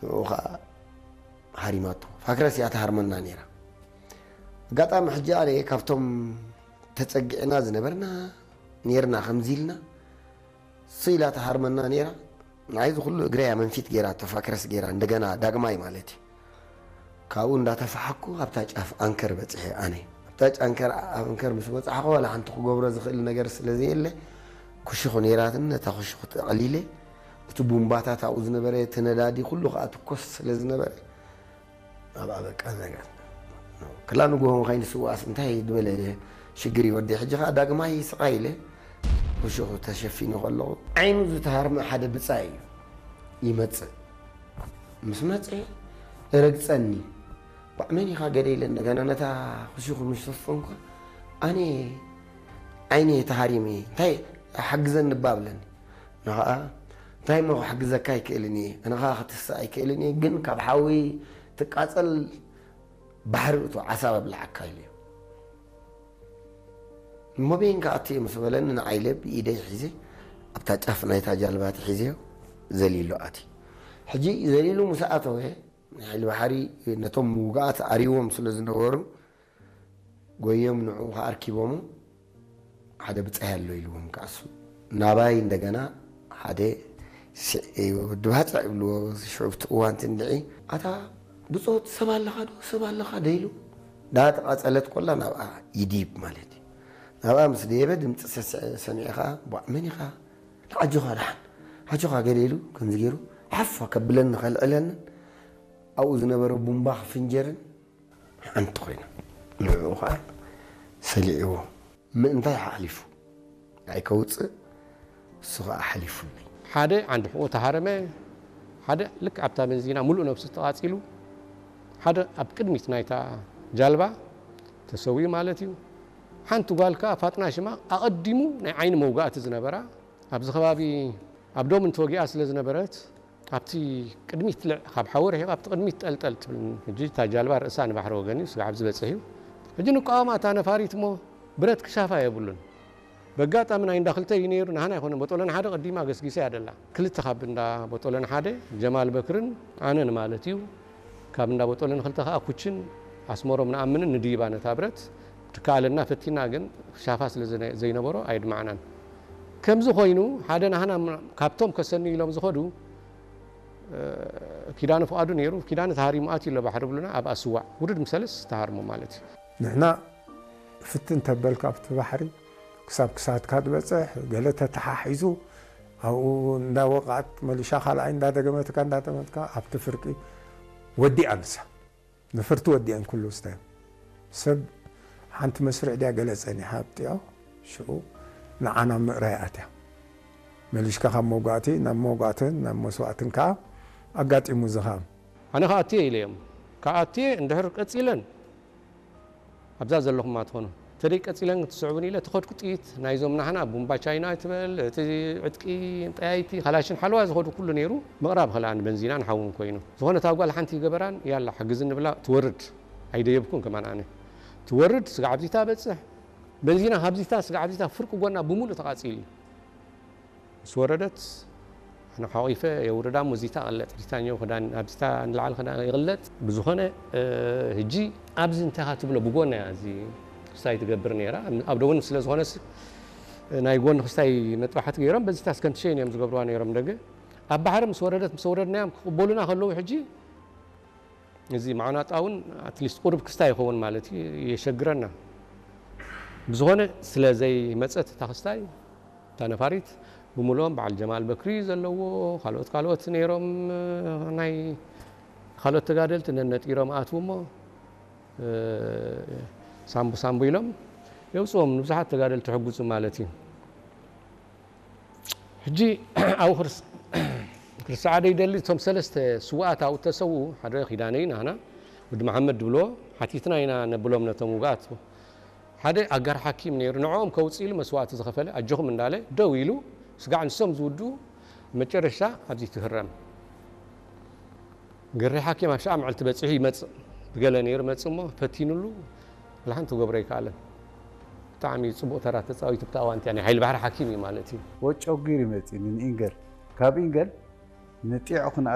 ንኡ ከዓ ሃሪማቶ። ፋክረስ እያ ትሃርመና ነይራ። ኣጋጣሚ ሕጂ ኣነ ካብቶም ተፀጊዕና ዝነበርና ነርና ከምዚ ኢልና ስኢላ ትሃርመና ነይራ። ንዓይ እዚ ኩሉ እግረያ መንፊት ገይራ፣ ተፋክረስ ገይራ፣ እንደገና ዳግማይ ማለት እዩ። ካብኡ እንዳተፋሓኩ ኣብታ ጫፍ ኣንከር በፅሐ። ኣነ ኣብታ ጫንከር ኣንከር ምስ በፃሕኩ ዋላ ሓንቲ ክገብሮ ዝኽእል ነገር ስለ ዘየለ፣ ክሹኽ ነይራትን፣ ነታ ክሹኽ ተቐሊለ፣ እቲ ቡምባታት ኣብኡ ዝነበረ፣ እቲ ነዳዲ ኩሉ ከዓ ትኮስ ስለ ዝነበረ፣ ኣብኣ በቃ ዘጋ ክላ ንግሆ ከይንስዋስ እንታይ ዝበለ ሽግር ይወዲ። ሕጂ ከዓ ዳግማይ ስቓይ ኢለ ክሹኽ ተሸፊኑ ከለኹ ዓይኑ ዝተሃርመ ሓደ ብፃይ እዩ ይመፅእ። ምስ መፀ ረግፀኒ። ባዕ መን ኢኻ ገደ ኢለ እንደገና ነታ ክሹኽ ምስ ሸፈንኳ ኣነ ዓይነ ተሃሪመ እንታይ ሓግዘኒ እባ ብለኒ። ንኸዓ እንታይ እሞ ክሕግዘካ ኣይክእልን እየ፣ ኣነ ኸዓ ክትስእ ኣይክእልን እየ፣ ግን ካብ ሓዊ ትቃጸል ባሕሪ እቶ ዓሳብ ኣብልዓካ ኢሉ እዩ። እሞ በይን ክኣቱ እየ ምስ በለኒ ንዓይ ኢለ ብኢደይ ሒዘ ኣብታ ጫፍ ናይታ ጃልባ ተሒዘዮ ዘሊሉ ኣትዩ። ሕጂ ዘሊሉ ምስ ኣተወ ናይ ሓይሊ ባሕሪ ነቶም ምውጋኣት ኣርይዎም ስለ ዝነበሩ ጎዮም ንዕኡ ከኣ ኣርኪቦሞ ሓደ ብጻይ ኣሎ ኢልዎም ከኣሱ ናባይ እንደገና ሓደ ስዕ- ወዲ ባጽዕ ይብልዎ ሽዑ ኣብቲ እዋን ትንድዒ ኣታ ብጾት ሰብ ኣለኻ ዶ ሰብ ኣለኻ ዶ ኢሉ ዳተቓጸለት ኮላ ናብኣ ይዲብ ማለት እዩ ናብኣ ምስ ደየበ ድምፂ ሰስዐ ሰሚዐ ከኣ ቧዕ መን ኢኻ ኣጆኻ ደሓን ኣጆኻ ገለ ኢሉ ከምዚ ገይሩ ሓፍ ከብለኒ ከልዕለንን ኣብኡ ዝነበረ ቡምባ ክፍንጀርን ሓንቲ ኮይና ንዕኡ ከዓ ሰሊዕዎ ምእንታይ ሓሊፉ ኣይከውፅእ እሱ ከዓ ሓሊፉኒ ሓደ ዓንዲ ሕቆ ተሃረመ ሓደ ልክ ኣብታ በንዚና ሙሉእ ነብሱ ተቃፂሉ ሓደ ኣብ ቅድሚት ናይታ ጃልባ ተሰዊኡ ማለት እዩ ሓንቲ ጓል ከዓ ፋጥና ሽማ ኣቀዲሙ ናይ ዓይኒ መውጋእቲ ዝነበራ ኣብዚ ከባቢ ኣብ ዶም እንተወጊኣ ስለ ዝነበረት ኣብቲ ቅድሚት ልዕ ካብ ሓዊ ርሒቕ ኣብቲ ቅድሚት ጠልጠል ትብል ሕጂ እታ ጃልባ ርእሳ ንባሕሪ ወገን እዩ ስጋዕ ኣብዚ በፅሕ እዩ ሕጂ ንቃወማ እታ ነፋሪት እሞ ብረት ክሻፋ የብሉን በጋጣሚ ናይ እንዳ ክልተ እዩ ነይሩ ናህና ኣይኮነ ቦጦለን ሓደ ቀዲማ ገስጊሰ እያ ደላ ክልተ ካብ እንዳ ቦጦለን ሓደ ጀማል በክርን ኣነን ማለት እዩ ካብ እንዳ ቦጦለን ክልተ ከዓ ኩችን ኣስመሮም ንኣምንን ንድይባ ነታ ብረት ትከኣለና ፈቲና ግን ክሻፋ ስለ ዘይነበሮ ኣየድማዕናን ከምዚ ኮይኑ ሓደ ናህና ካብቶም ከሰንዩ ኢሎም ዝኸዱ ኪዳነ ፍቓዱ ነይሩ። ኪዳነ ተሃሪሙ ኣትዩ ኣሎ ባሕሪ ብሉና ኣብኣ ስዋዕ ውርድ ምሰለስ ተሃርሞ ማለት እዩ። ንሕና ፍትን ተበልካ ኣብቲ ባሕሪ ክሳብ ክሳድካ ትበፅሕ ገለ ተተሓሒዙ ኣብኡ እንዳወቕዓት መሊሻ ካልኣይ እንዳደገመትካ እንዳጠመትካ ኣብቲ ፍርቂ ወዲኣ ንሳ። ንፍርቲ ወዲአን ኩሉ ስታዮም ሰብ ሓንቲ መስርዕ ድያ ገለ ጸኒሓ ኣብጢኦ ሽዑ ንዓና ምእራይ ኣትያ መሊሽካ ካብ መውጋእቲ ናብ መውጋእትን ናብ መስዋእትን ከኣ ኣጋጢሙ ዝኻም ኣነ ከኣትየ ኢለዮም ከኣትየ እንድሕር ቀጺለን ኣብዛ ዘለኹማ ትኾኑ ተደይ ቀጺለን ክትስዕቡን ኢለ ተኸድኩ ጥይት ናይዞም ናህና ቡምባ ቻይና ትበል እቲ ዕጥቂ ጠያይቲ ካላሽን ሓለዋ ዝኸዱ ኩሉ ነይሩ ምቕራብ ኸላ ንበንዚናን ሓውን ኮይኑ ዝኾነ እታ ጓል ሓንቲ ይገበራን ያላ ሓግዝኒ ብላ ትወርድ ኣይደየብኩን ከማን ኣነ ትወርድ ስጋዕ ኣብዚታ በጽሕ በንዚና ካብዚታ ስጋዕ ኣብዚታ ፍርቂ ጎና ብምሉእ ተቓጺሉ ምስ ወረደት ኣነ ሓቒፈ የውርዳ እሞ እዚታ ቀለጥ ሪታኛው ክዳን ኣብዚታ ንላዕሊ ክዳን ይቕለጥ ብዝኾነ ህጂ ኣብዚ እንታይ ኢኻ ትብሎ ብጎና እያ እዚ ክስታይ ትገብር ነይራ ኣብ ደቡብ ስለ ዝኾነስ ናይ ጎኒ ክስታይ መጥባሕቲ ገይሮም በዚታ ስከንትሸይን እዮም ዝገብርዋ ነይሮም ደገ ኣብ ባሕሪ ምስ ወረደት ምስ ወረድናዮም ክቕበሉና ከለዉ ሕጂ እዚ ማዕናጣ እውን ኣትሊስት ቁሩብ ክስታይ ይኸውን ማለት እዩ የሸግረና ብዝኾነ ስለ ዘይመፀት እታ ክስታይ እታ ነፋሪት ብምልኦም በዓል ጀማል በክሪ ዘለዎ ካልኦት ካልኦት ነይሮም ናይ ካልኦት ተጋደልቲ ነነጢሮም ኣትዉ እሞ ሳምቡ ሳምቡ ኢሎም የውፅዎም ንብዙሓት ተጋደልቲ ሕጉፁ ማለት እዩ ሕጂ ኣብኡ ክርስዓ ደይደሊ እቶም ሰለስተ ስውኣት ኣብኡ ተሰውኡ ሓደ ኪዳነይ ናህና ወዲ መሓመድ ድብልዎ ሓቲትና ኢና ነብሎም ነቶም ውግኣት ሓደ ኣጋር ሓኪም ነይሩ ንዕኦም ከውፅእ ኢሉ መስዋእቲ ዝኸፈለ ኣጆኹም እንዳለ ደው ኢሉ ስጋዕ ንሶም ዝውድኡ መጨረሻ ኣብዚ ትህረም ገሬ ሓኪም ኣብ ሸዓ መዓልቲ በፂሑ ይመፅእ ብገለ ነይሩ መፅእ እሞ ፈቲኑሉ ወላ ሓንቲ ክገብሮ ኣይከኣለን ብጣዕሚ ፅቡቕ ተራ ተፃዊቱ ብታ እዋንቲ ናይ ሓይሊ ባሕሪ ሓኪም እዩ ማለት እዩ ወጨጉር ይመፅእ ንኢንገል ካብ ኢንገል ንጢዖ ክንኣ